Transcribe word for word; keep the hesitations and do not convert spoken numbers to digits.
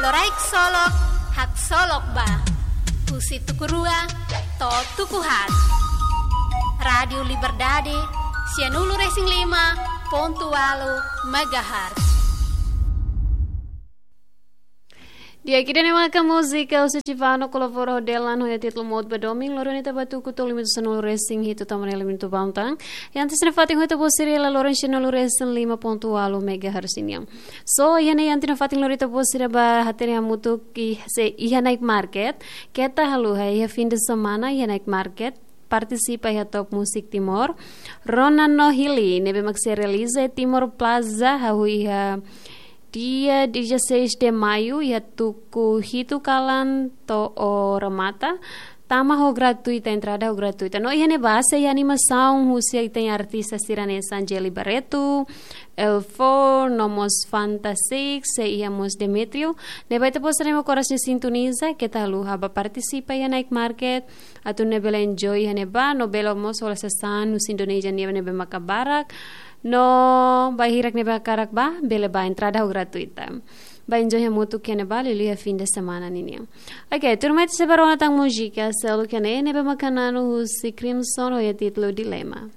Loraik solok, haksolok ba. Husi tuku rua to'o tuku haat. Rádiu Liberdade, sianulu-resin-lima pontu ualu megahertz. Di'ak, ida-ne'e maka múzika husi Chivano kolabora ho Delan ho títulu Mout ba Domin, loro ne'e ita ba tuku to'o lima sanulu-resin-hitu, tama ne'e lima minutu ba tan. Iha antes nafatin ha'u ita-boot sira iha laloran sianulu-resin-lima pontu ualu megahertz nian. So, iha ne'e iha antes nafatin lori ita-boot sira ba hatene hamutuk iha, se iha night market. Keta haluha iha fim de semana iha night market. Partisipa iha Top Music Timor. Rona no Hili, ne'ebé mak sei realiza iha Timor Plaza, hahú iha dia dezasseis de maio, iha tuku hitu kalan to'o remata. Tama ho gratuita, entrada ho gratuita. No iha ne'ebá sei animasaun husi ita-nia artista sira hanesan Jelly Barreto, L four, no mós Fantastic, sei iha mós Demetrio. Ne'ebé ita-boot sira ne'ebé korasaun sintoniza, keta haluha ba partisipa iha night market, atu nune'e bele enjoy iha ne'ebá, no bele mós hola sasán husi Indonézia nian ne'ebé maka barak. No bainhira ne'ebé hakarak ba, bele ba, entrada ho gratuita. Ba enjoy hamutuk iha ne'ebá, liuliu iha fim de semana ninian. Ok, tuirmai ita sei ba rona tan múzika seluk iha ne'e, ne'ebé maka na'an husi Crimson ho títulu Dilema.